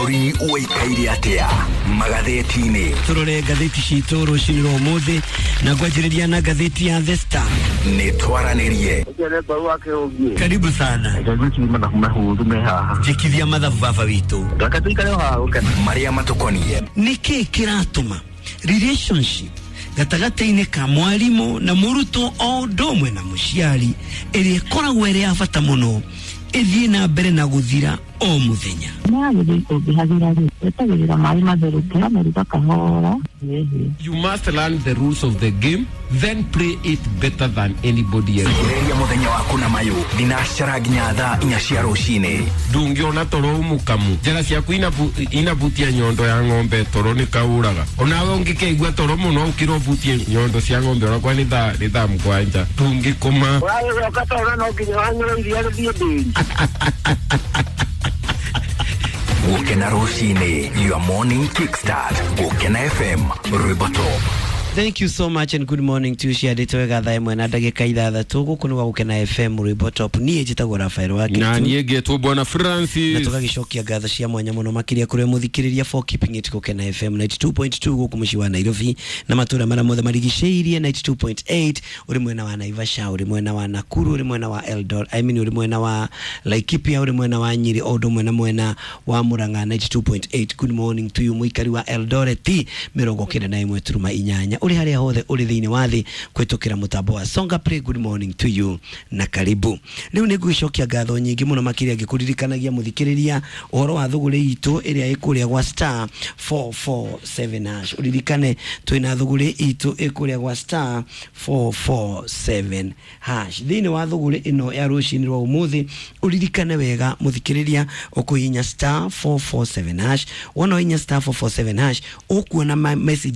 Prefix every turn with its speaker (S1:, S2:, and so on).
S1: Bũrũri ũikaire atĩa magathĩti-inĩ?
S2: Tũrore ngathĩti citũ rũcinĩ rwa ũmũthĩ na ngwanjĩrĩria na ngathĩti ya The Star.
S1: Nĩ twaranĩrie.
S2: Karibu sana. Njĩkithia mathabu baba witũ.
S1: Marĩa matũkoniĩ.
S2: Nĩkĩ kĩratũma relationship gatagatĩ-inĩ ka mwarimũ na mũrutwo o ũndũ ũmwe na mũciari ĩrĩa ĩkoragwo ĩrĩ ya bata mũno ĩthiĩ na mbere na gũthira o mũthenya?
S3: Nĩyagĩrĩire ũngĩhagĩra rĩ, wetagĩrĩra maĩ matherũke, ũkamĩruga kahora ĩhĩe.
S4: You must learn the rules of the game, then play it better than anybody else.
S1: Ĩrĩria mũthenya waku na mayũ thinacara nginya thaa 4 cia rũcinĩ.
S4: Ndũngĩona toro mũkamu njara ciaku inabutia nyondo ya ng'ombe, toro nĩ kaũraga. Onawe ũngĩkeigua toro mũno ũkĩra ũbutie nyondo cia ng'ombe onakwa nĩ thaa 7, ndũngĩkoma.
S5: Ũragĩcoka toro no nginya wanyue iria rĩthiĩ ndĩri.
S1: Gũkena rũcinĩ, your morning kickstart. Gũkena FM, rwĩmbo top.
S2: Thank you so much and good morning to you. Ciandĩtwo wega thaa 1 na ndagĩka 6 gũkũ nĩ gwa Gũkena FM, rwĩmbo top. Niĩ njĩtagwo Rafael wa
S4: Na
S2: Kĩtu.
S4: niĩ ngetwo Bwana
S2: Na
S4: Francis.
S2: tũgagĩcokia ngatho cia mwanya mũno makĩria kũrĩ mũthikĩrĩria for keeping it Gũkena FM 92.2 gũkũ mũciĩ wa Nairobi na matũũra marĩa mothe marigicĩirie, 92.8 ũrĩ mwena wa Naivasha, ũrĩ mwena wa Nakuru, ũrĩ mwena wa Eldoret, I mean ũrĩ mwena wa Laikipia, ũrĩ mwena wa Nyeri, o ũndũ ũmwe na mwena wa Murang'a 92.8. Good morning to you mũikari wa Eldoret 91.8, ũrĩ harĩa hothe ũrĩ thĩinĩ wa thĩ kũhĩtũkĩra mũtambo wa Songa Play. Good morning to you na karibu. Rĩu nĩ ngũgĩcokia ngatho nyingĩ mũno makĩria ngĩkũririkanagia mũthikĩrĩria ũhoro wa thũgũrĩ itũ ĩrĩa ĩkũrĩa gwa star 447 hash. Ũririkane twĩna thũgũrĩ itũ ĩkũrĩa gwa star 447 hash. Thĩinĩ wa thũgũrĩ ĩno ya rũcinĩ rwa ũmũthĩ, ũririkane wega mũthikĩrĩria, ũkũhihinya star 447 hash. Wona ũhihinya star 447 hash, ũkuona message.